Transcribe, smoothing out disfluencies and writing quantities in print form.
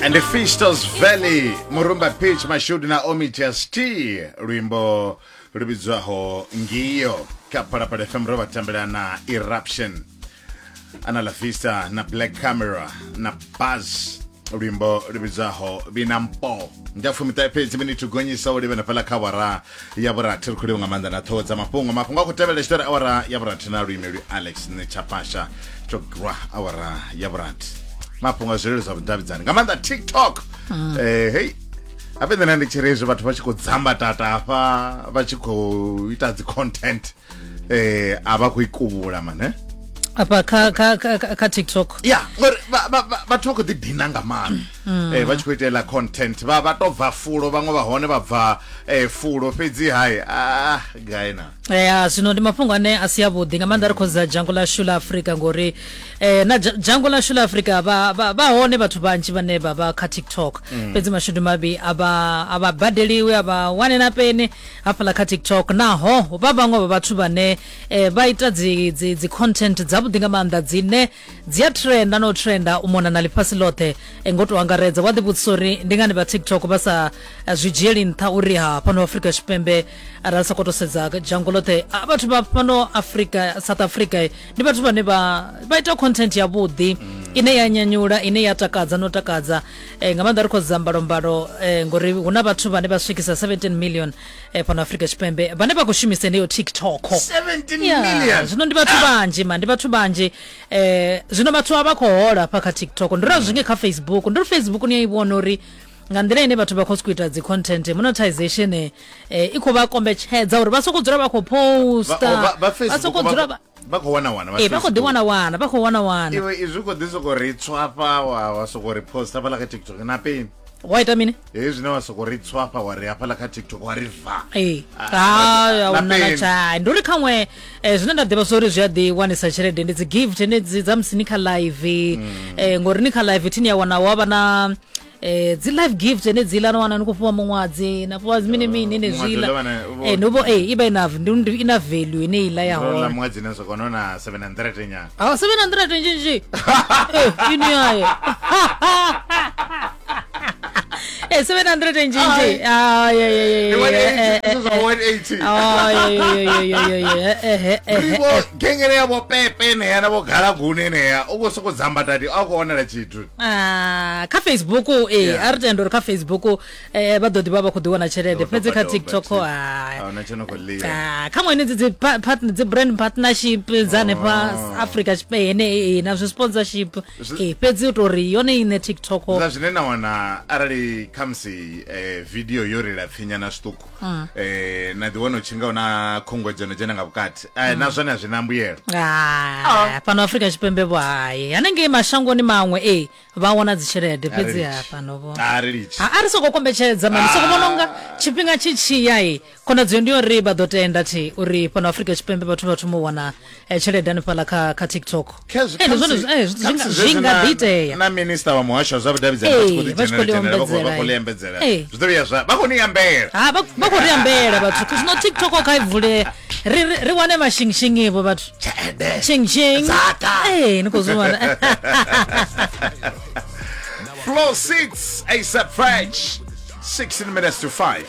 And the Fistos Valley Murumba Pitch Mashudu na Omi TST luimbo lu vhidzwaho Ngio kha Phalaphala FM ro vha tambela na Eruption Ana La Vista na Black Camera na Buzz luimbo lu vhidzwaho Vhinampo ndi a fumiṱahe fhedzi miniti u gonyisa u livhena fhaḽa kha awara ya vhurathi ri khou livha nga maanḓa na ṱhoho dza mafhungo mafhungo a khou tevhela tshitori awara ya vhurathi na luimeli alex nechapasha tsho gwa awara ya vhurathi mafhungo a zwilelo zwa vhudavhidzani nga maanḓa tiktok eh, hei habe nṋe ndi tshi ri hezwi vhathu vha tshi khou dzamba tata hafha vha tshi khou ita dzi content eh a vha khou ikuvhula mane eh? afha kha kha kha kha TikTok ya ngori vhathu vha khou ḓi dina nga maanḓa mm. eh vha tshi khou itela content vha vha to bva fulo vhaṅwe vha hone vha bva eh fulo fhedzi hai ah gai na ya zwino ndi mafhungo ane a si avhuḓi nga maanḓa ri khou dza dzhango ḽashu ḽa Afrika ngori eh na dzhango ḽashu ḽa Afrika vha vha hone vhathu vhanzhi vhane vha vha kha TikTok mm. fhedzi mashudu mavhi a vha a vha badeliwi a vha wane na peni hafhaḽa kha TikTok naho vha vhaṅwe vha vhathu vhane eh, vha ita dzi dzi dzi content dzavhuḓi nga maanḓa dzine dzi a trenda no trenda u mona na ḽifhasi ḽoṱhe eh, ngo to angaredza wa ḓivhudzisa uri ndi ngani vha TikTok vha sa eh, zwi dzhieli nṱha uri ha fhano Afrika Tshipembe arali sa khou sedza dzhango ḽoṱhe ah, vhathu vha fhano Afrika South Africa eh, ndi vhathu vhane vha vha ita content yavhuḓi ine ya nyanyula ine ya takadza no takadza eh, nga maanḓa ri khou sedza mbalombalo eh, ngori hu na vhathu vhane vha swikisa 17 million eh, fhano Afrika Tshipembe vhane vha khou shumisa heneyo TikTok 17 Yeah, million zwino ndi vhathu vhanzhi ma ndi vhathu vhanzhi eh zwino vhathu a vha khou hola hafha kha tiktok ndi ri zwinge kha facebook ndi ri facebook ni a i vhona uri nga nḓila ine vhathu vha khou sokou ita dzi content monetization eh, i khou vha kombetshedza uri vha sokou dzula vha khou posta vha vha Facebook sokou dzula vha vha khou wana wana vha khou ḓi wana wana vha khou wana wana iwe izwi khou ḓi sokou ri tswafha wa wa sokou ri post hafhaḽa kha tiktok na peni wa ita mini hezwi zwine wa sokou ri tswafha wa ri hafhaḽa kha tiktok wa ri va ee Ah, ha na una na peni. tshai ndi uri khaṅwe eh, zwine nda ḓivha zwa uri zwi a ḓi wanisa tshelede ndi dzi gift henedzi dza musi ni kha live eh, ngori ni kha live thini ya wana wa vha na eh, dzi live gift henedziḽa na wana ni khou fhiwa muṅwadzi na fhiwa mini mini Muṅwadzi henezwiḽa uḽa vhana- vho- eh, ndi vho eh, i vha ina ndi- ina value ine iḽa ya ḽa hone muṅwedzi ne soko nona 700 nyana awa 700 nzhinzhi eh, ini yayo eh, 700 nzhinzhi Ay, ay, ay, ay, Ndi ay, eh, 180, eh, this is 180. eh, Vho gengele ya vho pepe eneya na vho galaguni eneya u khou sokou dzamba tati a khou wanala tshithu Ah, kha facebook ee Yeah. a ri tenda uri kha facebook eh, vha ḓo ḓi vha vha khou ḓi wana tshelede Vho fhedzi kha doba doba tiktok thi. ah, A huna tsho no khou ḽiwa. ah, kha ṅwe dzi dzi pa- partner- dzi brand partnership dza hanefha afrika tshipembe hene na zwi sponsorship ee fhedzi u tou ri yone ine tiktok Zwa zwine na wana arali khamusi eh, video yo ri lapfinyana zwiṱuku eh, na ḓi wana u tshi nga hu na khunguwedzo no dzhena nga vhukati eh, na zwone a zwi na mbuyelo Ah, fhano afrika tshipembe vho hai hanengei mashangoni maṅwe ee vha wana dzitshelede fhedzi ha fhano vho a ri litshi a ri soko kombetshedza mani soko vhona unga tshifhinga tshi tshiya i khonadzeo ndi uri vha ḓo tenda thi uri fhano afrika tshipembe vhathu vha thoma u wana eh, tshelede hanefhaḽa kha kha tiktok Khezwi- Eh, ndi zwone khamusi- eh, khamusi zwi zwezwi nga na- ḓi itea na minista wa muhasho wa zwa vhudavhidzani vha tshi khou ḓi Ee, vha tshi khou dzhenela- dzhenela, vha khou- vha khou ḽi ḽi ambedzela Ee. zwi ḓo vhuya zwa vha khou ni ambela ha vha vha khou ri ambela vhathu zwino tiktok kha i vule ri ri- ri wane mashingshingi vho vhathu tshelede shingshing Dzaka. ee ni khou zwi wana Floor 6 ASAP French 16 minutes to 5.